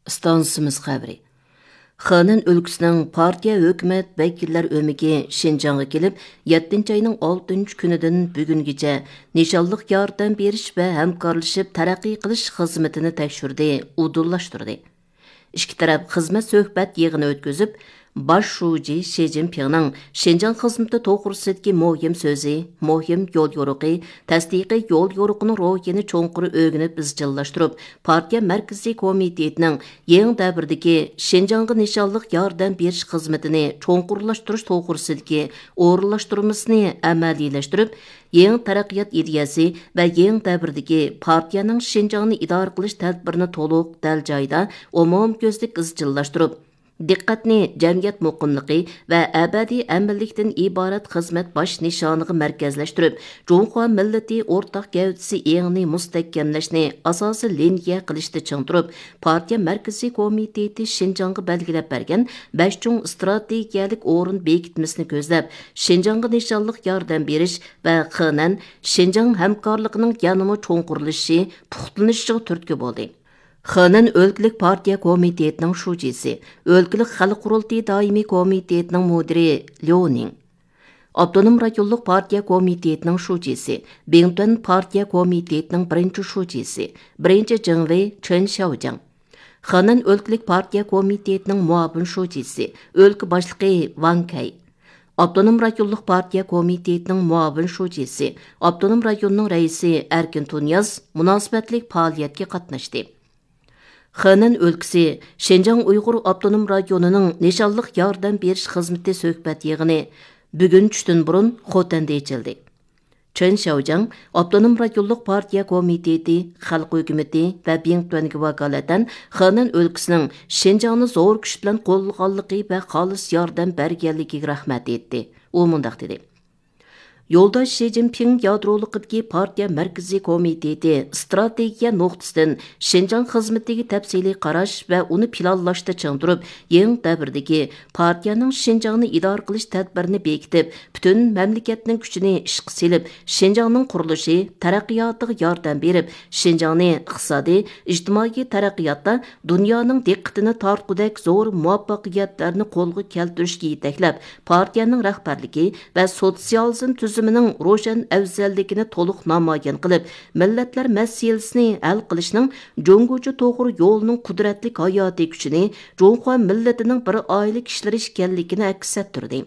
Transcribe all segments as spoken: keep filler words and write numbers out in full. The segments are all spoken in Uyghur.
ئىستانسىمىز خەۋىرى. خېنەن ئۆلكىسىنىڭ پارتىيە ھۆكۈمەت ۋەكىللەر ئۆمىكى شىنجاڭغا كېلىپ، يەتتىنچى ئاينىڭ ئالتىنچى كۈنىدىن بۈگۈنگىچە نىشانلىق ياردەم بېرىش ۋە ھەمكارلىشىپ تەرەققىي قىلىش خىزمىتىنى تەكشۈردى، ئۇدۇللاشتۇردى. ئىككى تەرەپ خىزمەت سۆھبەت يىغىنى ئۆتكۈزۈپ، باش شۇجى شى جىنپىڭنىڭ شىنجاڭ خىزمىتى توغرىسىدىكى مۇھىم سۆزى، مۇھىم يول يورۇقى، تەستىقىي يول يورۇقىنىڭ روھىنى چوڭقۇر ئۆگىنىپ ئىزچىللاشتۇرۇپ، پارتىيە مەركىزىي كومىتېتىنىڭ يېڭى دەۋردىكى شىنجاڭغا نىشانلىق ياردەم بېرىش خىزمىتىنى چوڭقۇرلاشتۇرۇش توغرىسىدىكى ئورۇنلاشتۇرمىسىنى ئەمەلىيلەشتۈرۈپ، يېڭى تەرەققىيات ئىدىيەسى ۋە يېڭى دەۋردىكى پارتىيەنىڭ شىنجاڭنى ئىدارە قىلىش تەدبىرىنى تولۇق، دەل جايىدا، ئومۇميۈزلۈك ئىزچىللاشتۇرۇپ، دىققەتنى جەمئىيەت مۇقىملىقى ۋە ئەبەدىي ئەمىنلىكتىن ئىبارەت خىزمەت باش نىشانىغا مەركەزلەشتۈرۈپ، جۇڭخۇا مىللىتى ئورتاق گەۋدىسى ئېڭىنى مۇستەھكەملەشنى ئاساسىي لىنىيە قىلىشتا چىڭ تۇرۇپ، پارتىيە مەركىزىي كومىتېتى شىنجاڭغا بەلگىلەپ بەرگەن بەش چوڭ ئىستراتېگىيەلىك ئورۇن بېكىتمىسىنى كۆزلەپ، شىنجاڭغا نىشانلىق ياردەم بېرىش ۋە خېنەن شىنجاڭ ھەمكارلىقىنىڭ يەنىمۇ چوڭقۇرلىشىشى، پۇختىلىنىشىغا تۈرتكە بولدى. خېنەن ئۆلكىلىك پارتىيە كومىتېتىنىڭ شۇجىسى، ئۆلكىلىك خەلق قۇرۇلتىيى دائىمىي كومىتېتىنىڭ مۇدىرى ليۇ نىڭ، ئاپتونوم رايونلۇق پارتىيە كومىتېتىنىڭ شۇجىسى، بىڭتۈەن پارتىيە كومىتېتىنىڭ بىرىنچى شۇجىسى، بىرىنچى جىڭۋېي چېن شياۋجياڭ، خېنەن ئۆلكىلىك پارتىيە كومىتېتىنىڭ مۇئاۋىن شۇجىسى، ئۆلكە باشلىقى ۋاڭ كەي، ئاپتونوم رايونلۇق پارتىيە كومىتېتىنىڭ مۇئاۋىن شۇجىسى، ئاپتونوم رايوننىڭ رەئىسى ئەركىن تۇنىياز مۇناسىۋەتلىك پائالىيەتكە قاتناشتى. خېنەن ئۆلكىسى شىنجاڭ ئۇيغۇر ئاپتونوم رايونىنىڭ نىشانلىق ياردەم بېرىش خىزمىتى سۆھبەت يىغىنى بۈگۈن چۈشتىن بۇرۇن خوتەندە ئېچىلدى. چېن شياۋجياڭ ئاپتونوم رايونلۇق پارتىيە كومىتېتى، خەلق ھۆكۈمىتى ۋە بىڭتۈەنگە ۋاكالىتەن خېنەن ئۆلكىسىنىڭ شىنجاڭنى زور كۈچ بىلەن قوللىغانلىقى ۋە خالىس ياردەم بەرگەنلىكىگە رەھمەت ئېيتتى. ئۇ مۇنداق دېدى. يولداش شى جىنپىڭ يادرولۇقىدىكى پارتىيە مەركىزىي كومىتېتى ئىستراتېگىيە نۇقتىسىدىن شىنجاڭ خىزمىتىگە تەپسىلىي قاراش ۋە ئۇنى پىلانلاشتا چىڭ تۇرۇپ، يېڭى دەۋردىكى پارتىيەنىڭ شىنجاڭنى ئىدارە قىلىش تەدبىرىنى بېكىتىپ، پۈتۈن مەملىكەتنىڭ كۈچىنى ئىشقا سېلىپ، شىنجاڭنىڭ قۇرۇلۇشى، تەرەققىياتىغا ياردەم بېرىپ، شىنجاڭنى ئىقتىسادىي، ئىجتىمائىي تەرەققىياتتا دۇنيانىڭ دىققىتىنى تارتقۇدەك زور مۇۋەپپەقىيەتلەرنى قولغا كەلتۈرۈشكە يېتەكلەپ، پارتىيەنىڭ رەھبەرلىكى ۋە سوتسىيالىزم تۈزۈمىنىڭ روشەن ئەۋزەللىكىنى تولۇق نامايان قىلىپ، مىللەتلەر مەسىلىسىنى ھەل قىلىشنىڭ جۇڭگوچە توغرا يولىنىڭ قۇدرەتلىك ھاياتىي كۈچىنى، جۇڭخۇا مىللىتىنىڭ بىر ئائىلە كىشىلىرى ئىكەنلىكىنى ئەكس ئەتتۈردى.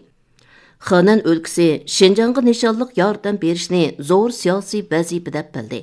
خېنەن ئۆلكىسى شىنجاڭغا نىشانلىق ياردەم بېرىشنى زور سىياسىي ۋەزىپە دەپ بىلدى.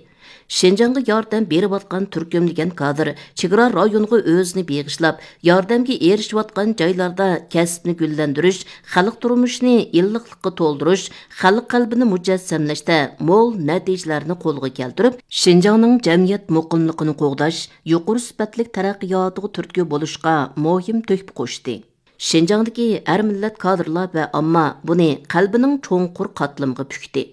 شىنجاڭغا ياردەم بېرىۋاتقان تۈركۈملىگەن كادىر چېگرا رايونىغا ئۆزىنى بېغىشلاپ، ياردەمگە ئېرىشىۋاتقان جايلاردا كەسىپنى گۈللەندۈرۈش، خەلق تۇرمۇشىنى ئىللىقلىققا تولدۇرۇش، خەلق قەلبىنى مۇجەسسەملەشتە مول نەتىجىلەرنى قولغا كەلتۈرۈپ، شىنجاڭنىڭ جەمئىيەت مۇقىملىقىنى قوغداش، يۇقىرى سۈپەتلىك تەرەققىياتىغا تۈرتكە بولۇشقا مۇھىم تۆھپە قوشتى. شىنجاڭدىكى ھەر مىللەت كادىرلار ۋە ئامما بۇنى قەلبىنىڭ چوڭقۇر قاتلىمىغا پۈكتى.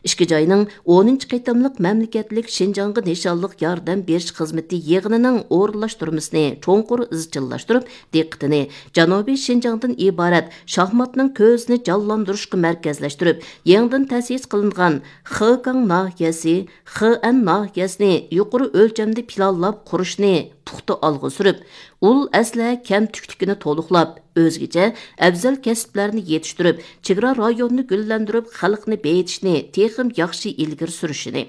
ئىككى جاينىڭ ئونىنچى قېتىملىق مەملىكەتلىك شىنجاڭغا نىشانلىق ياردەم بېرىش خىزمىتى يىغىنىنىڭ ئورۇنلاشتۇرمىسىنى چوڭقۇر ئىزچىللاشتۇرۇپ، دىققىتىنى جەنۇبىي شىنجاڭدىن ئىبارەت شاھماتنىڭ كۆزىنى جانلاندۇرۇشقا مەركەزلەشتۈرۈپ، يېڭىدىن تەسىس قىلىنغان خېكاڭ ناھىيەسى، خېئەن ناھىيەسىنى يۇقىرى ئۆلچەمدە پىلانلاپ قۇرۇشنى پۇختا ئالغا سۈرۈپ، ئۇل ئەسلىھە كەمتۈكلۈكىنى تولۇقلاپ، ئۆزگىچە ئەۋزەل كەسىپلەرنى يېتىشتۈرۈپ، چېگرا رايونىنى گۈللەندۈرۈپ، خەلقنى بېيىتىشنى تېخىمۇ ياخشى ئىلگىرى سۈرۈشىنى،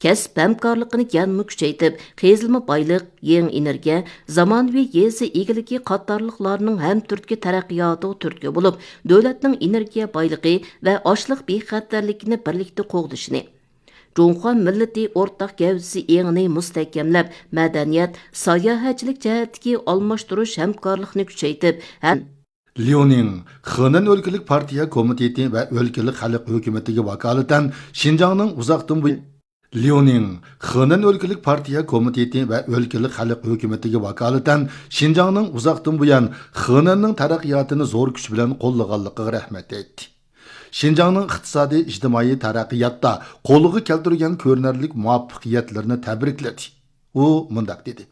كەسىپ ھەمكارلىقىنى يەنىمۇ كۈچەيتىپ، قېزىلما بايلىق، يېڭى ئېنېرگىيە، زامانىۋى يېزا ئىگىلىكى قاتارلىقلارنىڭ ھەمتۈرتكە تەرەققىياتىغا تۈرتكە بولۇپ، دۆلەتنىڭ ئېنېرگىيە بايلىقى ۋە ئاشلىق بىخەتەرلىكىنى بىرلىكتە قوغدىشىنى، جۇڭخۇا مىللىتى ئورتاق گەۋدىسى ئېڭىنى مۇستەھكەملەپ، مەدەنىيەت، ساياھەتچىلىك جەھەتتىكى ئالماشتۇرۇش ھەمكارلىقنى كۈچەيتىپ، ھەم ليۇنىڭ خېنەن ئۆلكىلىك پارتىيە كومىتېتى ۋە ئۆلكىلىك خەلق ھۆكۈمىتىگە ۋاكالىتەن شىنجاڭنىڭ ئۇزاقتىن بۇيان، ليۇنىڭ خېنەن ئۆلكىلىك پارتىيە كومىتېتى ۋە ئۆلكىلىك خەلق ھۆكۈمىتىگە ۋاكالىتەن شىنجاڭنىڭ ئۇزاقتىن بۇيان خېنەننىڭ تەرەققىياتىنى زور كۈچ بىلەن قوللىغانلىقىغا رەھمەت ئېيتتى. شىنجاڭنىڭ ئىقتىسادىي، ئىجتىمائىي تەرەققىياتتا قولغا كەلتۈرگەن كۆرۈنەرلىك مۇۋەپپەقىيەتلىرىنى تەبرىكلىدى. ئۇ مۇنداق دېدى: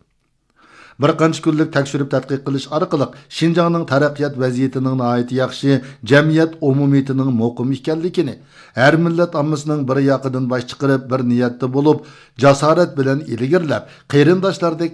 بىر قانچە كۈنلۈك تەكشۈرۈپ تەتقىق قىلىش ئارقىلىق شىنجاڭنىڭ تەرەققىيات ۋەزىيىتىنىڭ ناھايىتى ياخشى، جەمئىيەت ئومۇمىيىتىنىڭ مۇقىم ئىكەنلىكىنى، ھەر مىللەت ئاممىسىنىڭ بىر ياقىدىن باش چىقىرىپ، بىر نىيەتتە بولۇپ، جاسارەت بىلەن ئىلگىرىلەپ، قېرىنداشلاردەك